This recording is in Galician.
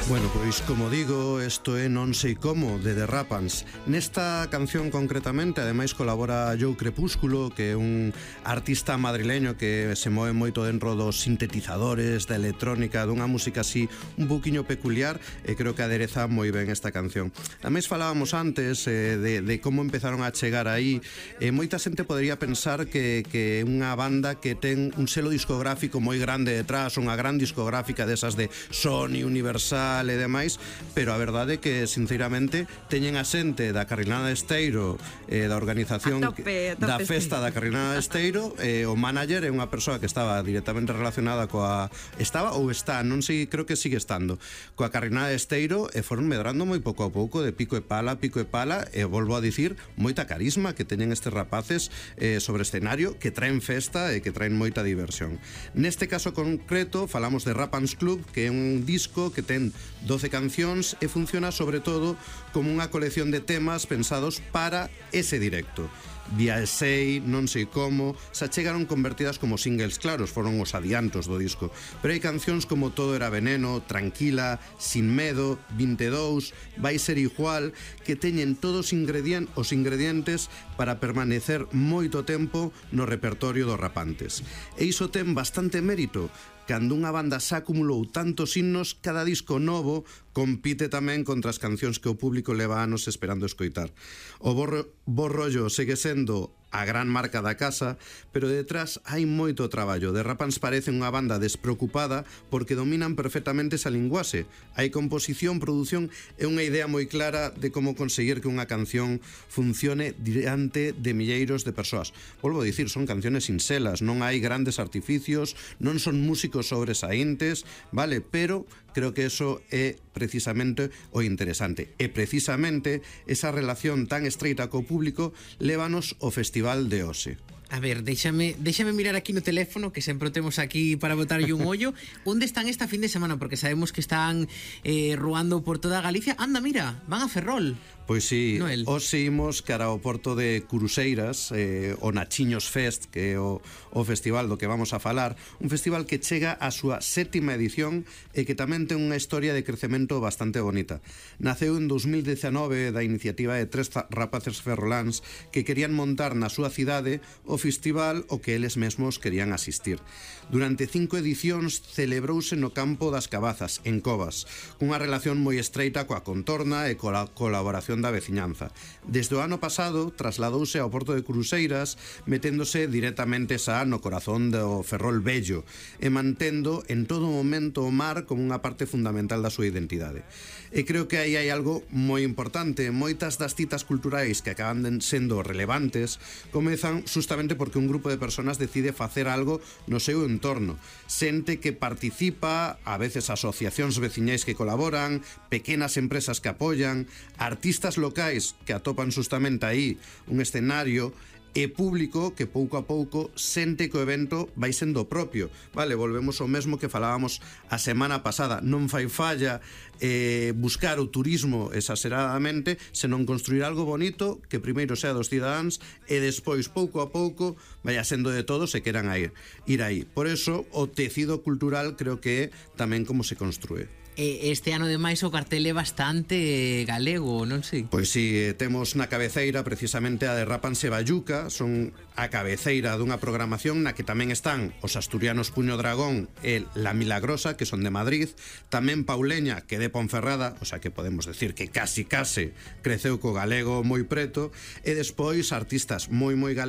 Bueno, pois como digo, isto é Non sei como, de The Rapans. Nesta canción concretamente, ademais colabora Joe Crepúsculo, que é un artista madrileño que se move moito dentro dos sintetizadores, da electrónica, dunha música así un poquinho peculiar, e creo que adereza moi ben esta canción. Ademais falábamos antes de como empezaron a chegar aí, moita xente podería pensar que é unha banda que ten un selo discográfico moi grande detrás, unha gran discográfica desas de Sony, Universal e demais, pero a verdade é que sinceramente teñen a xente da Carrinada de Esteiro, da organización a tope, da festa da Carrinada de Esteiro, o manager é unha persoa que estaba directamente relacionada coa non sei, creo que sigue estando coa Carrinada de Esteiro, e foron medrando moi pouco a pouco, de pico e pala, e volvo a dicir, moita carisma que teñen estes rapaces sobre escenario, que traen festa e que traen moita diversión. Neste caso concreto falamos de Rapans Club, que é un disco que ten 12 cancións e funciona sobre todo como unha colección de temas pensados para ese directo. Viaxei, Non sei como, se achegaron convertidas como singles, claros, foron os adiantos do disco, pero hai cancións como Todo era veneno, Tranquila, Sin medo, 22, Vai ser igual, que teñen todos os ingredientes para permanecer moito tempo no repertorio dos rapantes. E iso ten bastante mérito. Cando unha banda xa acumulou tantos himnos, cada disco novo compite tamén contra as cancións que o público leva anos esperando escoitar. O Bo Rollo segue sendo a gran marca da casa, pero detrás hai moito traballo. The Rapans parece unha banda despreocupada porque dominan perfectamente esa linguaxe. Hai composición, produción e unha idea moi clara de como conseguir que unha canción funcione diante de milleiros de persoas. Volvo a dicir, son canciones sinxelas, non hai grandes artificios, non son músicos sobresaíntes, vale, pero creo que eso é precisamente o interesante. E precisamente esa relación tan estreita co público lévanos ao Festival de Ose. A ver, déxame mirar aquí no teléfono, que sempre o temos aquí para botarlle un ollo. Onde están esta fin de semana? Porque sabemos que están ruando por toda Galicia. Anda, mira, van a Ferrol. Pois sí, hoxe imos cara ao porto de Curuseiras, o Nachiños Fest, que é o festival do que vamos a falar, un festival que chega á súa 7ª edición e que tamén ten unha historia de crecemento bastante bonita. Naceu en 2019 da iniciativa de 3 rapaces ferroláns que querían montar na súa cidade o festival o que eles mesmos querían asistir. Durante 5 edicións celebrouse no campo das Cabazas, en Covas, cunha relación moi estreita coa contorna e coa colaboración da veciñanza. Desde o ano pasado trasladouse ao porto de Cruceiras, meténdose directamente xa no corazón do Ferrol Vello e mantendo en todo momento o mar como unha parte fundamental da súa identidade. E creo que aí hai algo moi importante. Moitas das citas culturais que acaban sendo relevantes comezan justamente porque un grupo de personas decide facer algo no seu entorno. Xente que participa, a veces asociacións veciñais que colaboran, pequenas empresas que apoian, artistas locais que atopan justamente aí un escenario, e público que pouco a pouco sente que o evento vai sendo propio. Vale, volvemos ao mesmo que falábamos a semana pasada. Non fai falla buscar o turismo exageradamente, senón construir algo bonito que primeiro sea dos cidadáns e despois, pouco a pouco, vaya sendo de todos e queran ir aí. Por eso, o tecido cultural creo que é tamén como se construe. Este ano, ademais, o cartel é bastante galego, non sei? Pois si, temos na cabeceira precisamente a de Rapans e Bayuca, son a cabeceira dunha programación na que tamén están os asturianos Puño Dragón e La Milagrosa, que son de Madrid, tamén Pauleña, que é de Ponferrada, o sea que podemos decir que case creceu co galego moi preto, e despois artistas moi galegos